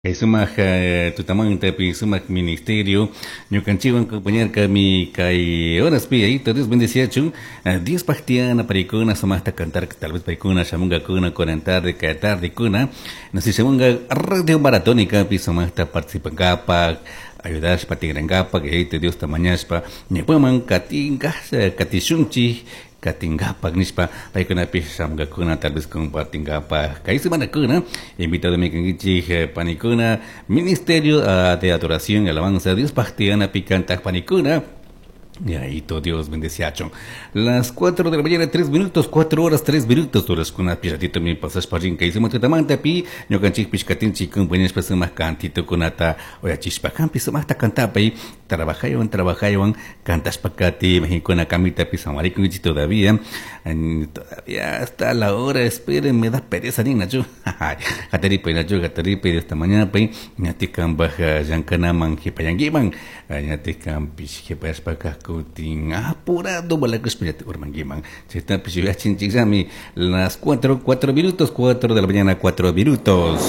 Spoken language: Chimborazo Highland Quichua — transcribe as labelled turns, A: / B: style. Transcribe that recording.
A: Kay sumak tutamantapi sumak ministerio ñukanchikwan compañarkami kay horaspi. Yayito Dios bendeciachun. Diospaj tiyana paykuna sumakta cantar, tal vez paykuna shamunkakuna kunan tarde, kay tardekuna, no sé, shamunga radio maratónicapi sumakta participankapak, ayudashpa tigrankapak. Yayito Diosta mañashpa ñawpaman katinka, katishunchik, katinkapak nishpa paykunapish shamunkakuna, tal vez compartinkapak kay semanakuna. Invitado mi kankichik, panikuna, ministerio de adoración y alabanza, Diospaj tiyanapi kantak panikuna. Yayito Dios bendeciachun. Las 4 de la mañana, 3 minutos, 4 horas, 3 minutos. Horaskuna piratito mi pasashpa rin kay sumak tutamantapi. Ñukanchikpish katinchik compañashpa sumak cantitokunata uyachishpa. Kampi sumakta kantapay, trabajaywan, trabajaywan, kantashpa kati, majinkuna kamitapi samarikunkichik todavía. Todavía hasta la hora, esperen, me da pereza nin nachu. Hataripay nachu, hataripay esta mañana pay, ñatik kanpaj llankanaman jipayankiman, ñatik kanpish jipayashpa kutin apurado balakushpa ñatik urmankiman. Chaytapish yuyachinchikllami. Las 4, 4 minutos, 4 de la mañana, 4 minutos.